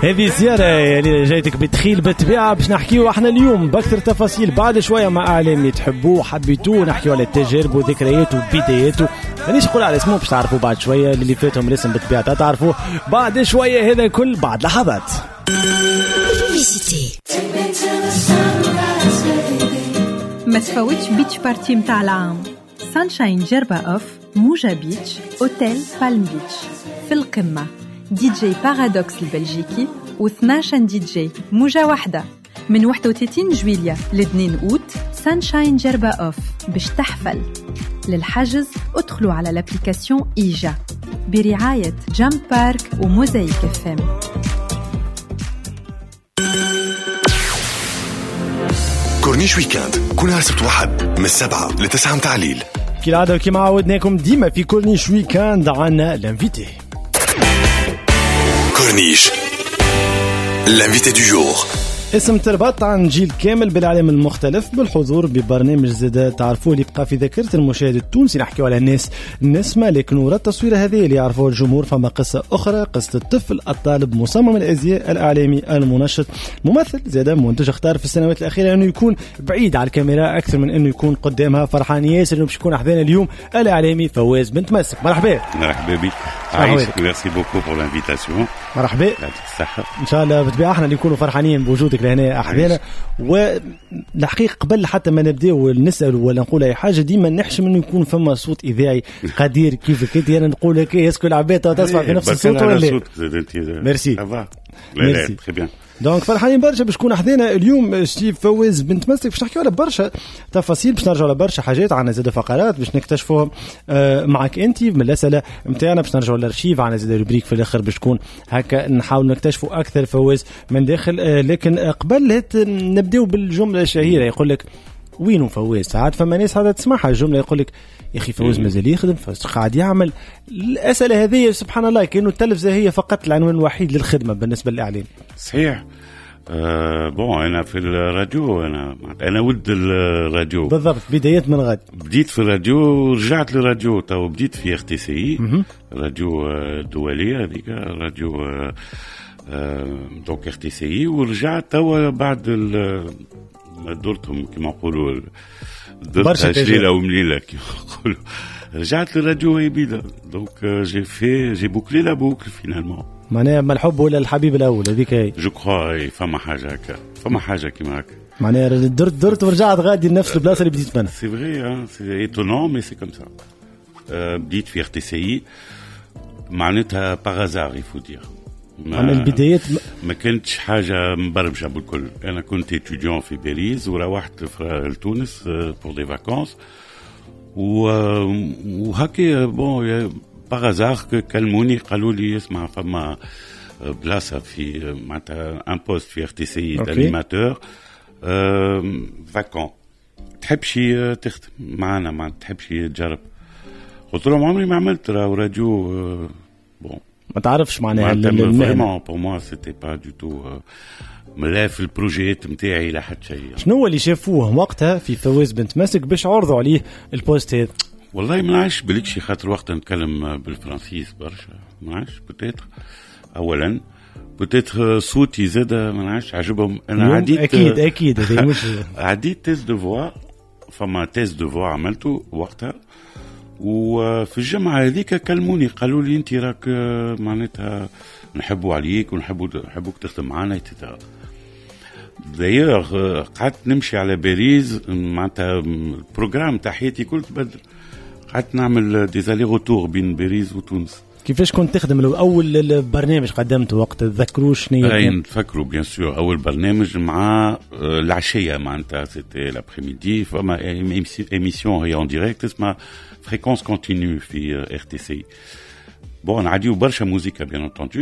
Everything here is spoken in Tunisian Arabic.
هذه الزيارة اللي جايتك بتخيل بالطبيعة باش نحكيو احنا اليوم بأكثر تفاصيل بعد شوية مع إعلامي تحبوه وحبيتوه، نحكيو على تجاربه وذكرياته وبداياته. مانيش نقول على اسمه باش تعرفوه بعد شوية، اللي فاتهم الاسم بالطبيعة تعرفوه بعد شوية. هذا كل بعد لحظات. ما تفوتش beach party متاع العام. Sunshine جربة off، موجة Beach، أوتيل Palm Beach. في القمة DJ Paradox البلجيكي و12 دي جي موجة واحدة من 31 جويليا ل 2 أوت. Sunshine جربة off باش تحفل. للحجز ادخلوا على l'application إيجا برعاية Jump Park و Mosaïque FM. Corniche Week-end كل نهار سبت وحد من 7 ل 9 متاع الليل. كالعادة وكما عودناكم ديما في Corniche Week-end عنا l'invité. Corniche l'invité du jour. اسم تربط عن جيل كامل بالعالم المختلف بالحضور ببرنامج زاد تعرفوه اللي بقى في ذاكرة المشاهد التونسي. نحكيو على الناس نسمة، لكن وراء التصوير هذه اللي يعرفوه الجمهور فما قصة أخرى، قصة الطفل الطالب مصمم الأزياء الإعلامي المنشط ممثل زاد منتج، اختار في السنوات الأخيرة أنه يكون بعيد على الكاميرا أكثر من أنه يكون قدامها. فرحان ياسر أنه باش يكون أحذانا اليوم الإعلامي فواز بن تمسك. مرحبا. مرحبا بك، عايشك. merci beaucoup pour l'invitation. مرحبا، يعطيك الصحة. إن شاء الله بالطبيعة احنا اللي نكونوا فرحانين بوجودك لهنا أحذانا. والحقيقة قبل حتى ما نبداو نسأل ولا نقول أي حاجة، ديما نحشم إنه يكون فما صوت إذاعي قدير كيفك أنت. أنا نقول لك est-ce que العباد تسمع في نفس الصوت ولا لا؟ merci merci très bien. donc فرحانين برشا باش تكون حذانا اليوم سي فواز بن تمسك باش نحكيو على برشا تفاصيل، باش نرجعوا على برشا حاجات، عندنا زاد فقرات باش نكتشفوهم معك انت من الاسئلة نتاعنا، باش نرجعوا للارشيف، عندنا زاد rubrique في الاخر باش تكون هكا نحاول نكتشفوا اكثر فواز من داخل. لكن قبل نبداو بالجملة الشهيرة، يقول لك وينو فواز؟ ساعات فما ناس هذا تسمعها الجملة يقول لك يا اخي فواز مازال يخدم، فواز قاعد يعمل. الاسئلة هذه سبحان الله كانه التلفزة هي فقط العنوان الوحيد للخدمة بالنسبة للاعلام. صحيح. Bon انا في الراديو، انا ولد الراديو بالضبط، بدايات من غد بديت في الراديو، رجعت للراديو تو بديت في RTCI راديو الدولية هذيك راديو donc RTCI، ورجعت تو بعد درتهم كما نقولوا درتها شليله ومليله كما نقولوا، رجعت للراديو هي donc j'ai bouclé la boucle finalement. معناها ما الحب ولا الحبيب الاول هذيك هي je crois. فما حاجة هكا، فما حاجة كيما هكا، معناها درت ورجعت غادي لنفس البلاصة اللي بديت منها. c'est vrai, c'est étonnant mais c'est comme ça. بديت في RTCI معناتها par hasard il faut dire. عن البدايات ما كانتش حاجة مبرمجه بالكل. انا كنت étudiant في باريس وروحت لتونس pour des vacances وهكا bon par hasard كلموني قالوا لي اسمع فما بلاصة في معناتها un poste في RTCI d'animateur vacant، تحبش تخدم معنا، ما تحبش تجرب؟ قلت لهم عمري ما عملت راديو. bon ما تعرفش معناها vraiment pour moi c'était pas du tout لا في ال projet نتاعي لا حتى شيء. شنو هو اللي شافوه وقتها في فواز بن تمسك باش عرضوا عليه ال poste هذا؟ والله ما نعرفش، بالكشي خاطر وقتها نتكلم بالفرنسيس برشا، ما نعرفش peut-être اولا peut-être صوتي زاد ما نعرفش عجبهم. انا عديت اكيد اكيد هذا مش عديت test de voix، فما test de voix عملته وقتها، وفي الجمعة هذيك كلموني قالوا لي انت راك معناتها نحبوا عليك ونحبوك تخدم معنا et cetera. d'ailleurs قعدت نمشي على باريس معناتها ال programme تاع حياتي كل تبدل، قعدت نعمل des allers-retours بين باريس وتونس. كيفاش كنت تخدم؟ لو اول برنامج قدمته وقت تذكروا شنو؟ اي نتفكروا bien sûr. اول برنامج مع العشية معناتها c'était l'après-midi، فما émission هي en direct اسمها Fréquence Continue في RTCI. bon نعديو برشا موزيكا bien entendu.